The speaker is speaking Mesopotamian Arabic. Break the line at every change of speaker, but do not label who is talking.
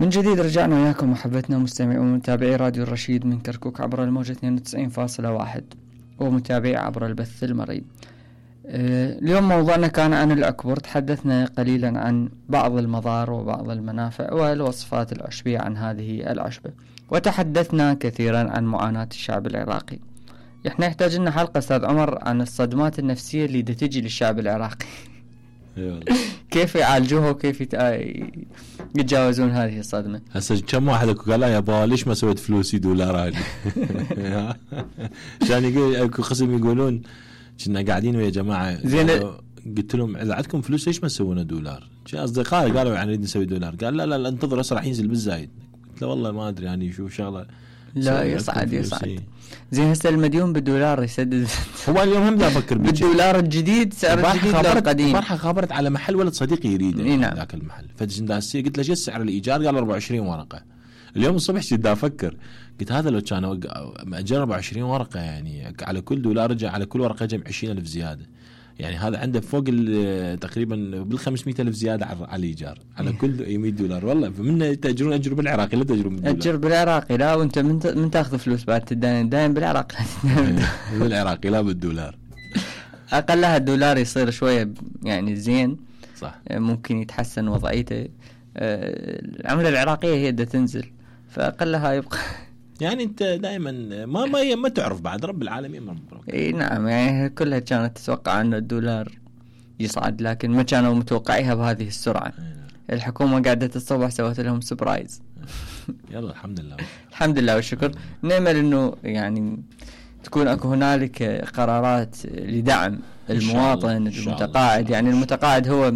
من جديد رجعنا وياكم محبتنا مستمعي ومتابعي راديو الرشيد من كركوك عبر الموجة 92.1 ومتابعي عبر البث المرئي. اليوم موضوعنا كان عن العكبر. تحدثنا قليلا عن بعض المضار وبعض المنافع والوصفات العشبية عن هذه العشبة، وتحدثنا كثيرا عن معاناة الشعب العراقي. احنا يحتاج لنا حلقة استاذ عمر عن الصدمات النفسية اللي تجي للشعب العراقي. كيف يعالجوها وكيف يتجاوزون هذه الصدمة.
هسه كم واحد قال لا يا با ليش ما سويت فلوسي دولار هذه عشان يقول اكو قسم يقولون كنا قاعدين ويا جماعة
زين
قلت لهم اذا عندكم فلوس ليش ما تسوونه دولار؟ اصدقائي قالوا يعني نريد نسوي دولار، قال لا انتظر هسه راح ينزل بالزايد. قلت له والله ما ادري يعني شو شغله.
لا يصعد زين هسه المديون بالدولار يسدد.
هو اليوم هم دا افكر
بالدولار الجديد سعر الجديد لا القديم.
البارحه خابرت على محل ولد صديقي يريده ذاك المحل، فجنداسي قلت له شو سعر الايجار؟ قال 24 ورقه. اليوم الصبح جيت افكر قلت هذا لو كان مأجر 24 ورقه يعني على كل دولار رجع على كل ورقه جمع 20,000 زياده، يعني هذا عنده فوق تقريبا بال 500,000 زياده على الايجار على كل 100 دولار. والله فمن تاجرون اجروا بالعراقي لا تاجرون بالدولار.
اجر بالعراقي لا، وانت من تاخذ فلوس بعد تداين بالعراقي
بالعراقي لا بالدولار.
اقلها الدولار يصير شويه يعني زين
صح،
ممكن يتحسن وضعيته. العمله العراقيه هي بدها تنزل فاقلها يبقى
يعني انت دائما ما تعرف بعد رب العالمين ما مبروك.
اي نعم، يعني كلها كانت تتوقع انه الدولار يصعد لكن ما كانوا متوقعيها بهذه السرعه. الحكومه قاعده الصبح سوت لهم سبرايز.
يلا الحمد لله
الحمد لله والشكر. نأمل انه يعني تكون اكو هنالك قرارات لدعم المواطن المتقاعد. يعني المتقاعد هو